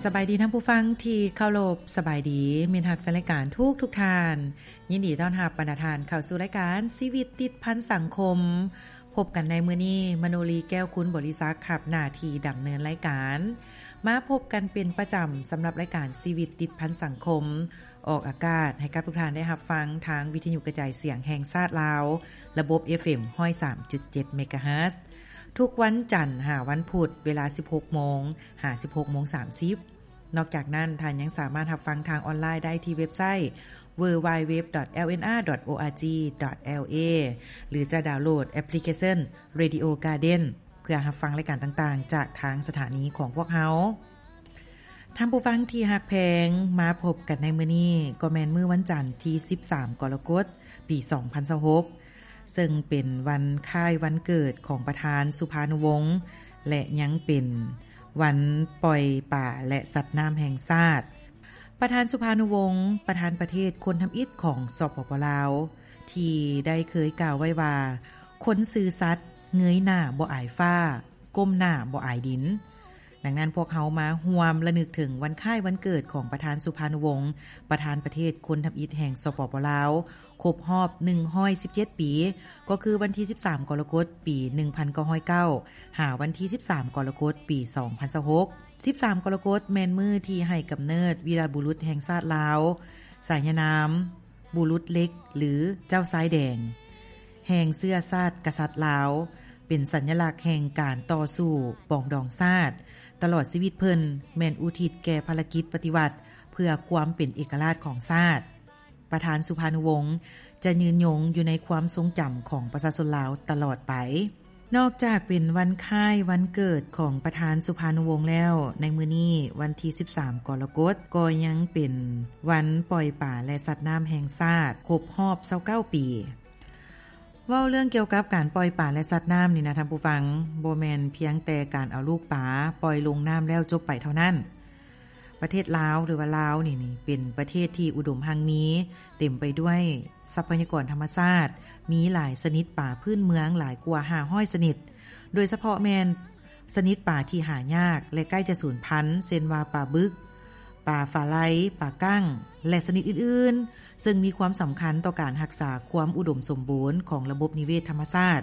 ສະບາຍດີທ່ານຜູ້ຟັງທີ່ເຄົາລົບ, ສະບາຍດີມິດຮັກແຟນລາຍການທຸກໆທ່ານ. ຍິນດີຕ້ອນຮັບບັນດາທ່ານເຂົ້າສູ່ລາຍການຊີວິດຕິດພັນສັງຄົມ. ພົບກັນໃນມື້ນີ້, ມະໂນລີ ແກ້ວຄຸນບໍລິສັກ ຮັບໜ້າທີ່ດຳເນີນລາຍການ. ມາພົບກັນເປັນປະຈຳສຳລັບລາຍການຊີວິດຕິດພັນສັງຄົມ, ອອກອາກາດໃຫ້ກັບທຸກທ່ານໄດ້ຮັບຟັງທາງວິທະຍຸກະຈາຍສຽງແຫ່ງຊາດລາວ, ລະບົບ ເອຟເອັມ ຮ້ອຍສາມຈຸດເຈັດ ເມກາເຮີດ ທຸກວັນຈັນຫາວັນພຸດ ເວລາ ສິບຫົກໂມງ ຫາ ສິບຫົກໂມງສາມສິບ. ນອກຈາກນັ້ນ, ທ່ານຍັງສາມາດຮັບຟັງທາງອອນລາຍໄດ້ທີ່ເວັບໄຊ ดัບເບິນຢູດັບເບິນຢູດັບເບິນຢູດັບເບິນຢູ ດອດ ເອລເອັນອາ ດອດ ໂອອາຈີ ດອດ ແອລເອ ຫຼື ຈະດາວໂຫຼດແອັບພລິເຄຊັນ Radio Garden ເພື່ອຮັບຟັງລາຍການຕ່າງໆ ຈາກທາງສະຖານີຂອງພວກເຮົາ. ທ່ານຜູ້ຟັງທີ່ຮັກແພງ, ມາພົບກັນໃນມື້ນີ້ ກໍແມ່ນມື້ວັນຈັນທີສິບສາມ ກໍລະກົດ ປີສອງພັນຊາວຫົກ ເຊິ່ງເປັນວັນຄ້າຍວັນເກີດຂອງປະທານສຸພານຸວົງ ແລະ ຍັງເປັນວັນປ່ອຍປາ ແລະ ສັດນ້ຳແຫ່ງຊາດ. ປະທານສຸພານຸວົງ, ປະທານປະເທດຄົນທຳອິດຂອງ ສປປ ລາວ ທີ່ໄດ້ເຄີຍກ່າວໄວ້ວ່າ, ຄົນຊື່ສັດເງີຍໜ້າບໍ່ອາຍຟ້າ, ກົ້ມໜ້າບໍ່ອາຍດິນ. ດັ່ງນັ້ນ, ພວກເຮົາມາຮ່ວມລະນຶກເຖິງວັນຄ້າຍວັນເກີດຂອງປະທານສຸພານຸວົງ, ປະທານປະເທດຄົນທຳອິດແຫ່ງ ສປປ ລາວ, ຄົບຮອບໜຶ່ງຮ້ອຍສິບເຈັດປີ, ກໍຄືວັນທີສິບສາມ ກໍລະກົດ ປີໜຶ່ງພັນເກົ້າຮ້ອຍເກົ້າ ຫາວັນທີສິບສາມ ກໍລະກົດ ປີສອງພັນຊາວຫົກ. ສິບສາມ ກໍລະກົດ ແມ່ນມື້ທີ່ໃຫ້ກຳເນີດວີລະບຸລຸດແຫ່ງຊາດລາວ, ສາຍານາມ ບຸລຸດເຫຼັກ ຫຼື ເຈົ້າຊາຍແດງ ແຫ່ງເຊື້ອຊາດກະສັດລາວ, ເປັນສັນຍະລັກແຫ່ງການຕໍ່ສູ້ປອງດອງຊາດ. ຕະຫຼອດຊີວິດເພິ່ນແມ່ນອຸທິດແກ່ພາລະກິດປະຕິວັດເພື່ອຄວາມເປັນເອກະລາດຂອງຊາດ. ປະທານສຸພານຸວົງຈະຍືນຍົງຢູ່ໃນຄວາມຊົງຈຳຂອງປະຊາຊົນລາວຕະຫຼອດໄປ. ນອກຈາກເປັນວັນຄ້າຍວັນເກີດຂອງປະທານສຸພານຸວົງແລ້ວ, ໃນມື້ນີ້ ວັນທີສິບສາມ ກໍລະກົດ ກໍຍັງເປັນວັນປ່ອຍປາ ແລະ ສັດນ້ຳແຫ່ງຊາດ ຄົບຮອບຊາວເກົ້າປີ. ເວົ້າເລື່ອງກ່ຽວກັບການປ່ອຍປາ ແລະ ສັດນ້ຳນີ້ນະທ່ານຜູ້ຟັງ, ບໍ່ແມ່ນພຽງແຕ່ການເອົາລູກປາປ່ອຍລົງນ້ຳແລ້ວຈົບໄປເທົ່ານັ້ນ. ປະເທດລາວ ຫຼືວ່າລາວນີ້ ນີ້ເປັນປະເທດທີ່ອຸດົມຮັ່ງມີ, ເຕັມໄປດ້ວຍຊັບພະຍາກອນທຳມະຊາດ, ມີຫຼາຍຊະນິດປາພື້ນເມືອງຫຼາຍກວ່າຫ້າຮ້ອຍຊະນິດ, ໂດຍສະເພາະແມ່ນຊະນິດປາທີ່ຫາຍາກ ແລະ ໃກ້ຈະສູນພັນ, ເຊັ່ນວ່າ ປາບຶກ, ປາຝາໄລ, ປາກັ້ງ ແລະ ຊະນິດອື່ນໆ, ເຊິ່ງມີຄວາມສຳຄັນຕໍ່ການຮັກສາຄວາມອຸດົມສົມບູນຂອງລະບົບນິເວດທຳມະຊາດ,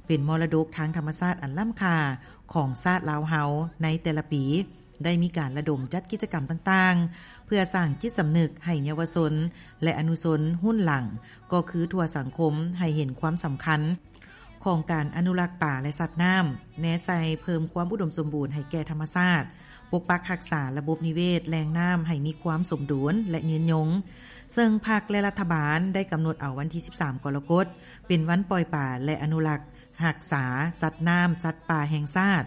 ເປັນມໍລະດົກທາງທຳມະຊາດອັນລ້ຳຄ່າຂອງຊາດລາວເຮົາໃນແຕ່ລະປີ. ໄດ້ມີການລະດົມຈັດກິດຈະກຳຕ່າງໆ ເພື່ອສ້າງຈິດສຳນຶກໃຫ້ເຍົາວະຊົນ ແລະ ອະນຸຊົນຮຸ່ນຫຼັງ, ກໍຄືທົ່ວສັງຄົມ ໃຫ້ເຫັນຄວາມສຳຄັນຂອງການອະນຸລັກປາ ແລະ ສັດນ້ຳ, ແນໃສ່ເພີ່ມຄວາມອຸດົມສົມບູນໃຫ້ແກ່ທຳມະຊາດ, ປົກປັກຮັກສາລະບົບນິເວດແຫຼ່ງນ້ຳໃຫ້ມີຄວາມສົມດຸນ ແລະ ຍືນຍົງ. ເຊິ່ງພັກ ແລະ ລັດຖະບານໄດ້ກຳນົດເອົາວັນທີສິບສາມ ກໍລະກົດ ເປັນວັນປ່ອຍປາ ແລະ ອະນຸລັກຮັກສາສັດນ້ຳ, ສັດປ່າແຫ່ງຊາດ.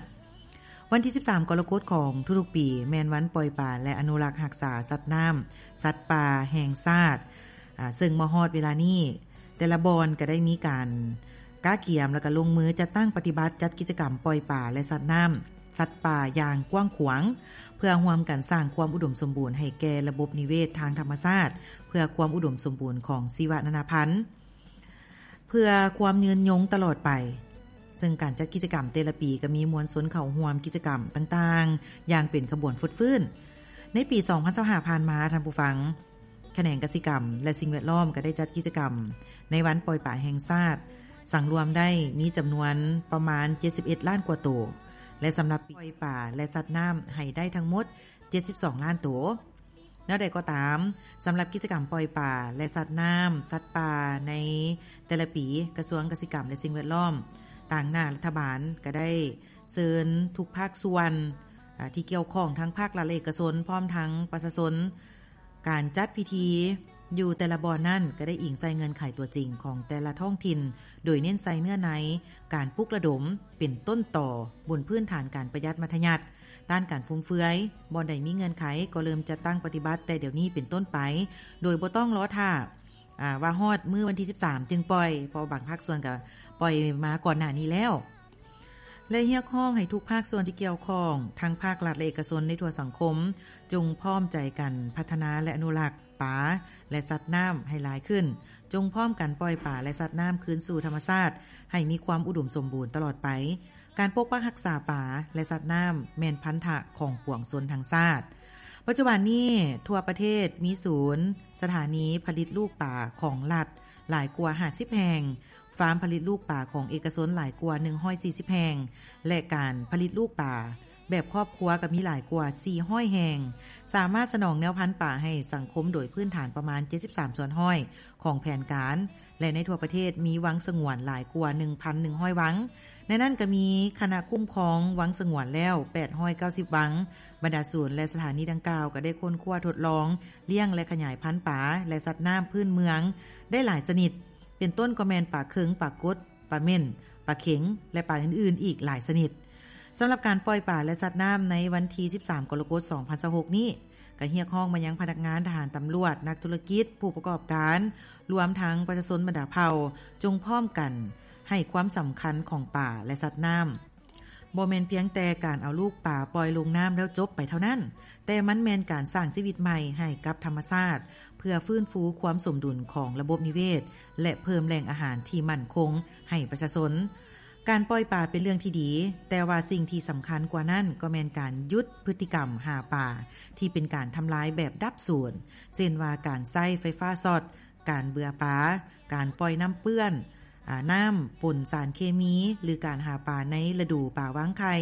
ວັນທີສິບສາມ ກໍລະກົດຂອງທຸກໆປີ ແມ່ນວັນປ່ອຍປາ ແລະ ອະນຸລັກຮັກສາສັດນ້ຳ, ສັດປ່າແຫ່ງຊາດ, ອາ, ເຊິ່ງມາຮອດເວລານີ້ ແຕ່ລະບ່ອນກໍໄດ້ມີການກະກຽມ ແລ້ວກໍລົງມືຈັດຕັ້ງປະຕິບັດຈັດກິດຈະກຳປ່ອຍປາ ແລະ ສັດນ້ຳ, ສັດປ່າຢ່າງກວ້າງຂວາງ, ເພື່ອຮ່ວມກັນສ້າງຄວາມອຸດົມສົມບູນໃຫ້ແກ່ລະບົບນິເວດທາງທຳມະຊາດ, ເພື່ອຄວາມອຸດົມສົມບູນຂອງຊີວະນານາພັນ. ເພື່ອຄວາມຍືນຍົງຕະຫຼອດໄປ, ເຊິ່ງການຈັດກິດຈະກຳແຕ່ລະປີກໍມີມວນຊົນເຂົ້າຮ່ວມກິດຈະກຳຕ່າງໆ ຢ່າງເປັນຂະບວນຟົດຟື້ນ. ໃນປີສອງພັນຊາວຫ້າຜ່ານມາ, ທ່ານຜູ້ຟັງ, ຂະແໜງກະສິກຳ ແລະ ສິ່ງແວດລ້ອມກໍໄດ້ຈັດກິດຈະກຳໃນວັນປ່ອຍປາແຫ່ງຊາດ ສັງລວມໄດ້ມີຈຳນວນປະມານເຈັດສິບເອັດລ້ານກວ່າໂຕ ແລະ ສຳລັບປີ ປ່ອຍປາ ແລະ ສັດນ້ຳໃຫ້ໄດ້ທັງໝົດເຈັດສິບສອງລ້ານໂຕ. ແນວໃດກໍຕາມ, ສຳລັບກິດຈະກຳປ່ອຍປາ ແລະ ສັດນ້ຳ, ສັດປ່າໃນແຕ່ລະປີ, ກະຊວງກະສິກຳ ແລະ ສິ່ງແວດລ້ອມ ຕາງໜ້າລັດຖະບານ ກະໄດ້ເຊີນທຸກພາກສ່ວນ ອາ ທີ່ກ່ຽວຂ້ອງ ທັງພາກລັດ ແລະ ເອກະຊົນ ພ້ອມທັງປະຊາຊົນ. ການຈັດພິທີຢູ່ແຕ່ລະບ່ອນນັ້ນ ກະໄດ້ອີງໃສ່ເງື່ອນໄຂຕົວຈິງຂອງແຕ່ລະທ້ອງຖິ່ນ, ໂດຍເນັ້ນໃສ່ເນື້ອໃນການປຸກລະດົມເປັນຕົ້ນຕໍ ບົນພື້ນຖານການປະຢັດມັດທະຍັດ, ຕ້ານການຟຸມເຟືອຍ, ບ່ອນໃດມີເງື່ອນໄຂກໍເລີ່ມຈັດຕັ້ງປະຕິບັດແຕ່ດຽວນີ້ເປັນຕົ້ນໄປ, ໂດຍບໍ່ຕ້ອງລໍຖ້າ ອາ ວ່າຮອດມື້ວັນທີສິບສາມຈຶ່ງປ່ອຍ, ເພາະວ່າບາງພາກສ່ວນກໍປ່ອຍມາກ່ອນໜ້ານີ້ແລ້ວ. ແລະ ຮຽກຮ້ອງໃຫ້ທຸກພາກສ່ວນທີ່ກ່ຽວຂ້ອງ, ທັງພາກລັດ ແລະ ເອກະຊົນໃນທົ່ວສັງຄົມ, ຈົ່ງພ້ອມໃຈກັນພັດທະນາ ແລະ ອະນຸລັກປາ ແລະ ສັດນ້ຳໃຫ້ຫຼາຍຂຶ້ນ, ຈົ່ງພ້ອມກັນປ່ອຍປາ ແລະ ສັດນ້ຳຄືນສູ່ທຳມະຊາດ ໃຫ້ມີຄວາມອຸດົມສົມບູນຕະຫຼອດໄປ. ການປົກປັກຮັກສາປາ ແລະ ສັດນ້ຳ ແມ່ນພັນທະຂອງປວງຊົນທັງຊາດ. ປັດຈຸບັນນີ້ ທົ່ວປະເທດມີສູນສະຖານີຜະລິດລູກປາຂອງລັດຫຼາຍກວ່າຫ້າສິບແຫ່ງ, ຟາມຜະລິດລູກປາຂອງເອກະຊົນຫຼາຍກວ່າໜຶ່ງຮ້ອຍສີ່ສິບແຫ່ງ ແລະ ການຜະລິດລູກປາແບບຄອບຄົວກໍມີຫຼາຍກວ່າສີ່ຮ້ອຍແຫ່ງ, ສາມາດສະໜອງແນວພັນປາໃຫ້ສັງຄົມໂດຍພື້ນຖານປະມານເຈັດສິບສາມສ່ວນຮ້ອຍຂອງແຜນການ ແລະ ໃນທົ່ວປະເທດມີວັງສະຫງວນຫຼາຍກວ່າໜຶ່ງພັນໜຶ່ງຮ້ອຍວັງ, ໃນນັ້ນກໍມີຄະນະຄຸ້ມຄອງວັງສະຫງວນແລ້ວແປດຮ້ອຍເກົ້າສິບວັງ. ບັນດາສູນ ແລະ ສະຖານີດັ່ງກ່າວກໍໄດ້ຄົ້ນຄວ້າທົດລອງລ້ຽງ ແລະ ຂະຫຍາຍພັນປາ ແລະ ສັດນ້ຳພື້ນເມືອງໄດ້ຫຼາຍຊະນິດ, ເປັນຕົ້ນກໍແມ່ນປາເຄິງ, ປາກົດ, ປາເໝັ້ນ, ປາເຂັງ ແລະ ປາອື່ນໆອີກຫຼາຍຊະນິດ. ສຳລັບການປ່ອຍປາ ແລະ ສັດນ້ຳໃນວັນທີສິບສາມ ກໍລະກົດ ສອງພັນຊາວຫົກນີ້ ກໍຮຽກຮ້ອງມາຍັງພະນັກງານ, ທະຫານ, ຕຳຫຼວດ, ນັກທຸລະກິດ, ຜູ້ປະກອບການ, ລວມທັງປະຊາຊົນບັນດາເຜົ່າ ຈົ່ງພ້ອມກັນໃຫ້ຄວາມສຳຄັນຂອງປາ ແລະ ສັດນ້ຳ. ບໍ່ແມ່ນພຽງແຕ່ການເອົາລູກປາປ່ອຍລົງນ້ຳແລ້ວຈົບໄປເທົ່ານັ້ນ, ແຕ່ມັນແມ່ນການສ້າງຊີວິດໃໝ່ໃຫ້ກັບທຳມະຊາດ ເພື່ອຟື້ນຟູຄວາມສົມດຸນຂອງລະບົບນິເວດ ແລະ ເພີ່ມແຫຼ່ງອາຫານທີ່ໝັ້ນຄົງໃຫ້ປະຊາຊົນ. ການປ່ອຍປາເປັນເລື່ອງທີ່ດີ, ແຕ່ວ່າສິ່ງທີ່ສຳຄັນກວ່ານັ້ນກໍແມ່ນການຢຸດພຶດຕິກຳຫາປາທີ່ເປັນການທຳລາຍແບບດັບສູນ, ເຊັ່ນວ່າການໃຊ້ໄຟຟ້າຊັອດ, ການເບືອປາ, ການປ່ອຍນ້ຳເປື້ອນ, ອາ, ນ້ຳປົນສານເຄມີ ຫຼື ການຫາປາໃນລະດູປາວາງໄຂ່,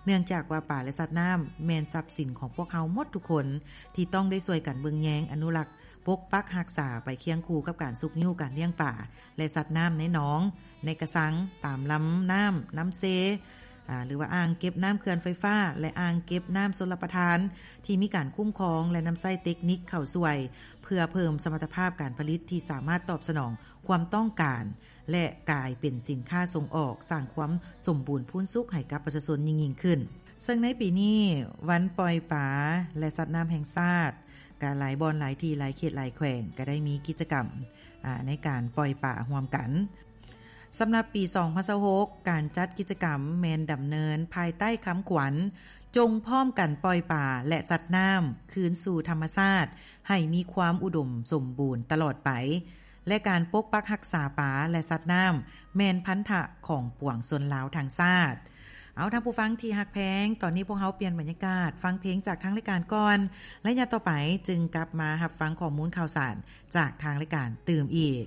ເນື່ອງຈາກວ່າປາ ແລະ ສັດນ້ຳແມ່ນຊັບສິນຂອງພວກເຮົາໝົດທຸກຄົນ ທີ່ຕ້ອງໄດ້ຊ່ວຍກັນເບິ່ງແຍງ, ອະນຸລັກ, ປົກປັກຮັກສາໄປຄຽງຄູ່ກັບການຊຸກຍູ້ການລ້ຽງປາ ແລະ ສັດນ້ຳໃນໜອງ, ໃນກະຊັງ, ຕາມລຳນ້ຳ, ນ້ຳເຊ, ອາ, ຫຼືວ່າອ່າງເກັບນ້ຳເຂື່ອນໄຟຟ້າ ແລະ ອ່າງເກັບນ້ຳຊົນລະປະທານ ທີ່ມີການຄຸ້ມຄອງ ແລະ ນຳໃຊ້ເຕັກນິກເຂົ້າຊ່ວຍ ເພື່ອເພີ່ມສະມັດຕະພາບການຜະລິດທີ່ສາມາດຕອບສະໜອງຄວາມຕ້ອງການ ແລະ ກາຍເປັນສິນຄ້າສົ່ງອອກ, ສ້າງຄວາມສົມບູນພູນສຸກໃຫ້ກັບປະຊາຊົນຍິ່ງໆຂຶ້ນ. ເຊິ່ງໃນປີນີ້, ວັນປ່ອຍປາ ແລະ ສັດນ້ຳແຫ່ງຊາດ ກະຫຼາຍບ່ອນ, ຫຼາຍທີ່, ຫຼາຍເຂດ, ຫຼາຍແຂວງ ກະໄດ້ມີກິດຈະກຳ, ອາ, ໃນການປ່ອຍປາຮ່ວມກັນ. ສຳລັບປີສອງພັນຊາວຫົກ ການຈັດກິດຈະກຳແມ່ນດຳເນີນພາຍໃຕ້ຄຳຂວັນ ຈົ່ງພ້ອມກັນປ່ອຍປາ ແລະ ສັດນ້ຳຄືນສູ່ທຳມະຊາດ ໃຫ້ມີຄວາມອຸດົມສົມບູນຕະຫຼອດໄປ ແລະ ການປົກປັກຮັກສາປາ ແລະ ສັດນ້ຳ ແມ່ນພັນທະຂອງປວງຊົນລາວທັງຊາດ. ເອົາ ທ່ານຜູ້ຟັງທີ່ຮັກແພງ, ຕອນນີ້ພວກເຮົາປ່ຽນບັນຍາກາດ ຟັງເພງຈາກທາງລາຍການກ່ອນ, ໄລຍະຕໍ່ໄປຈຶ່ງກັບມາຮັບຟັງຂໍ້ມູນຂ່າວສານຈາກທາງລາຍການຕື່ມອີກ.